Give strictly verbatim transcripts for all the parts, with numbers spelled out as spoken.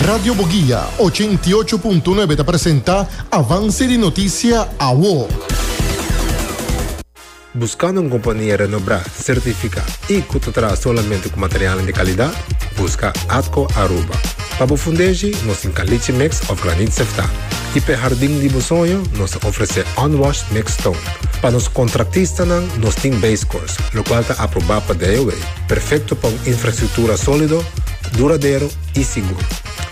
Radio Boguia ochenta i ocho punto nuebe ta presenta Avance di Noticia Awo. Buscando un compania renombra, certifica y cu ta traha solamente cu material di calidad? Busca Atco Aruba. Pa bo fundeshi, nos tin caliche mix of graniet sefta. Y pa hardin di bo soño, nos ta ofrece unwashed mixed stone. Pa nos contratistanan, nos tin base course, locual ta aproba pa D O W. Perfecto pa un infrastructura solido, duradero y sigur.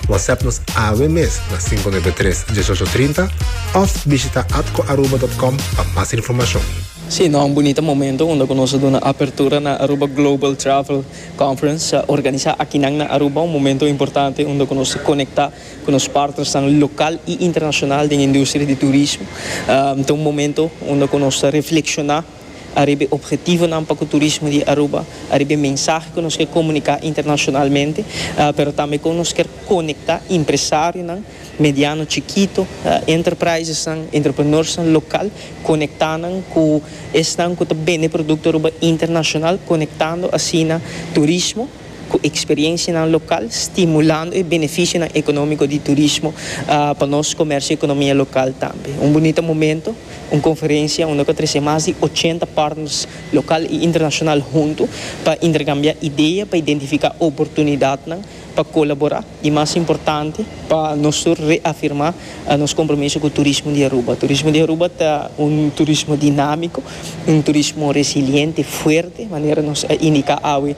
WhatsApp nos awe mes na cinco nuebe tres diesocho trinta of bishita atcoaruba punto com pa mas informacion. Si, no, un bunita momento unda nos a duna apertura na Aruba Global Travel Conference, uh, organisa aki na Aruba, un momento importante unda nos ta conecta cu e partners local y internacional di industria di turismo. Um, anto, un momento unda nos ta reflexiona ariba obhetivonan pa e turismo di Aruba, ariba mensahe cu nos kier comunica internacionalmente, uh, pero tambe con nos kier conecta empresarionan, mediano, chikito, uh, enterprises, entrepreneurs local, conectando cu esnan cu ta bende producto Aruba internacional, conectando asina turismo cu experiencia local, stimulando e beneficio economico di turismo uh, pa nos comercio y economia local tambe. Un bunita momento, un conferencia unda cu a trece mas di ochenta partners local y internacional hunto pa intercambia idea, pa identifica oportunidad, pa colabora y, mas importante, pa nos reafirma nos compromiso cu e turismo di Aruba. E turismo di Aruba ta un turismo dinamico, un turismo resiliente, fuerte, manera nos a indica awe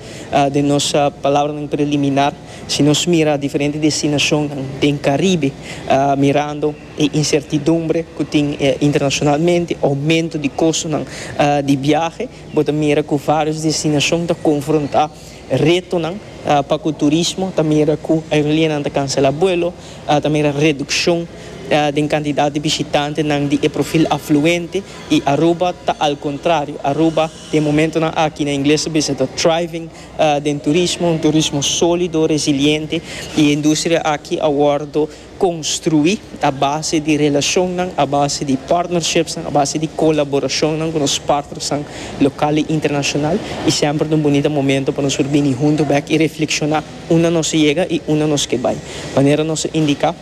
den nos palabra preliminar. Si nos mira diferente destinacion den Caribe, uh, mirando e incertidumbre cu tin eh, internacionalmente, aumento di costo uh, di viahe, bo ta mira cu varios destinacion ta confronta retonan uh, pa e turismo, tambe mira cu aerolínea ta cancela vuelo, uh, tambe reduccion uh, di cantidad di bishitantenan di perfil afluente, y Aruba ta al contrario. Aruba den momento aki, na ingles ta thriving uh, den turismo, un turismo solido, resiliente, y e industria aki a wordo construi a base di relacion, a base di partnerships, a base di colaboracion cu nos partners local y internacional, y semper un bunita momento pa nos bini hunto back y reflexiona unda nos a yega y unda nos kier bay. Manera nos a indica,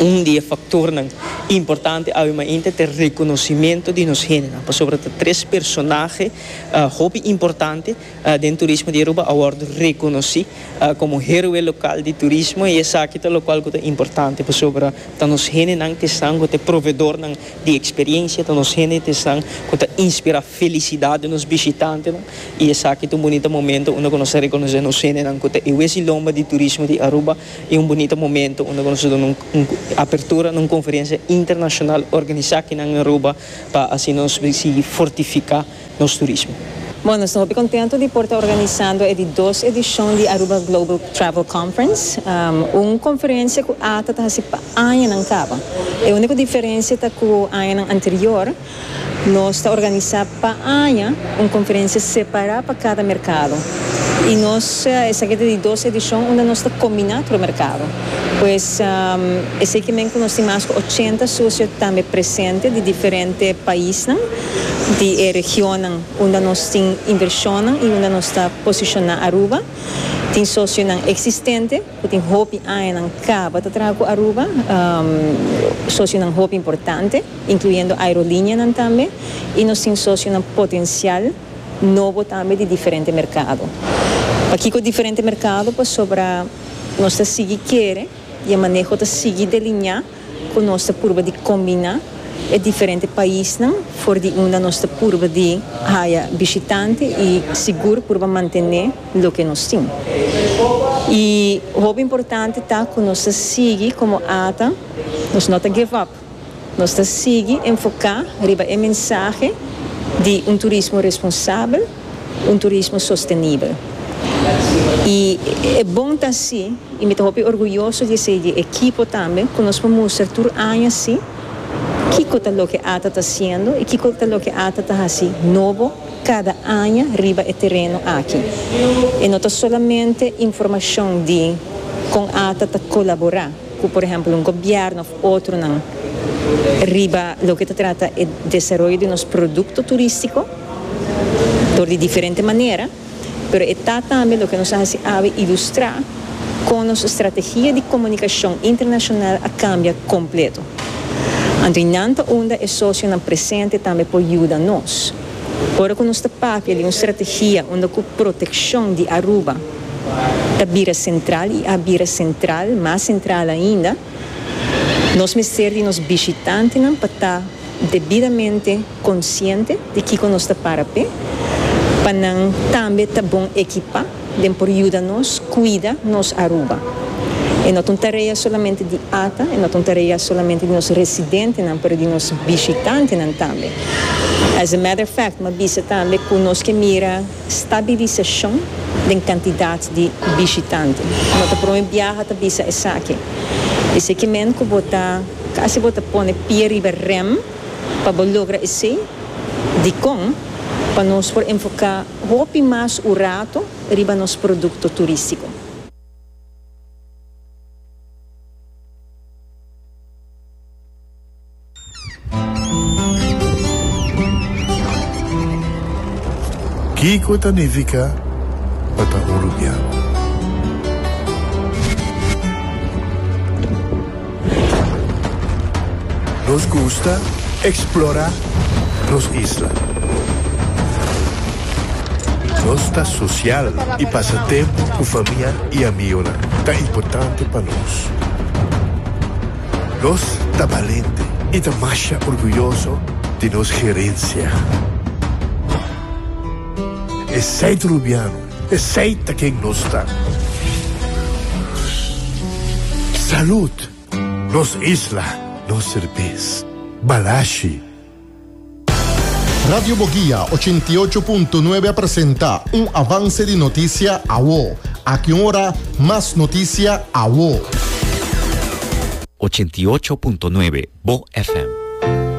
un di e factornan importante awe mainta ta reconocimento di nos hendenan. Pasobra tres personahe uh, hopi importante uh, den turismo di Aruba a wordo reconoci uh, como heroe local di turismo, y esaki ta locual ta importante, pasobra ta nos hendenan ta esnan cu ta proveedornan di experiencia, ta nos hendenan ta esnan cu ta inspira felicidad di nos bishitantenan, y esaki ta un bunita momento unda nos ta reconoce nos hendenan cu ta e lomba di turismo di Aruba, y un bunita momento unda nos ta duna un, un apertura na un conferencia internacional organisa aki na Aruba pa asina nos sigui fortifica nos turismo. Bueno, nos ta masha contento di por ta organisando e di dos edicion di Aruba Global Travel Conference, um, un conferencia cu A T A ta haci pa añanan caba. E unico diferencia ta cu aña anterior nos ta organisa pa aña un conferencia separa pa cada mercado. Y nos, esaki ta di dos edicion unda nos ta combina e mercado. Pues um, esaki kiermen nos tin mas di ochenta socio tambe presente di diferente pais, di region unda nos tin inversion y unda nos ta posiciona Aruba. Tin socionan existente, cu tin hopi aña caba ta traha cu Aruba, um, socionan hopi importante, incluyendo aerolínea tambe, y nos tin socionan potencial nobo tambe di diferente mercado. Aki cu diferente mercado, pasobra nos ta sigui kere y e maneho ta sigui delinea cu nos ta purba di combina e diferente paisnan for di unda nos ta purba di haya bishitante y sigur purba mantene loke nos tin. Y lo importante ta cu nos ta sigui como A T A, nos no ta give up. Nos ta sigui enfoca riba e mensahe di un turismo responsabel, un turismo sostenibel. Y e bon ta asina, y mi ta orguyoso di ser di ekipo tambe, cu nos por mustra tur aña asina, kico ta loke A T A ta haciendo y kico ta loke A T A ta haciendo nobo cada aña riba e tereno aki. Y no ta solamente informacion di con A T A ta colabora, cu por ehempel un gobierno of otronan riba loke ta trata e desaroyo di nos producto turistico di diferente manera, pero ta tambe loke nos a ilustra. Ku nos strategia di komunikashon internashonal a kambia kompleto. Anto nan ta unda e sosionan presente tambe por yuda nos. Ora ku nos ta papia di un strategia unda ku protekshon di Aruba ta bira sentral i a bira sentral, mas sentral ainda, nos mester di nos bishitantenan pa ta debidamente konsiente di kiko nos ta para p'e, pa nan tambe ta bon ekipá den por yuda nos kuida nos Aruba. E no ta un tarea solamente di ATA, e no ta un tarea solamente di nos residentenan, pero di nos bishitantenan tambe. As a matter of fact, m'a bisa tambe ku nos ke mira stabilisashon den kantidat di bishitante. No ta promé biaha ta bisa esaki. Esei ke men ku bo ta, kasi bo ta pone pia riba rem pa bo logra esei, dikon pa nos por enfoká hopi mas un ratu riba nos produkto turístiko. Kiko ta nifiká pa ta un rubiano? Nos gusta eksplorá nos isla. Nos ta sosial i pasa tempu ku famia i amigunan ta importante pa nos. Nos ta balente i ta masha orguyoso di nos herensia. Esei ta rubiano, esei ta ken nos ta. Salud! Nos isla, nos serbes. Balashi. Radio Boguia ochenta i ocho punto nuebe a presenta un avance di noticia awo. Aki un ora, mas noticia awo. Ochenta i ocho punto nuebe Bo F M.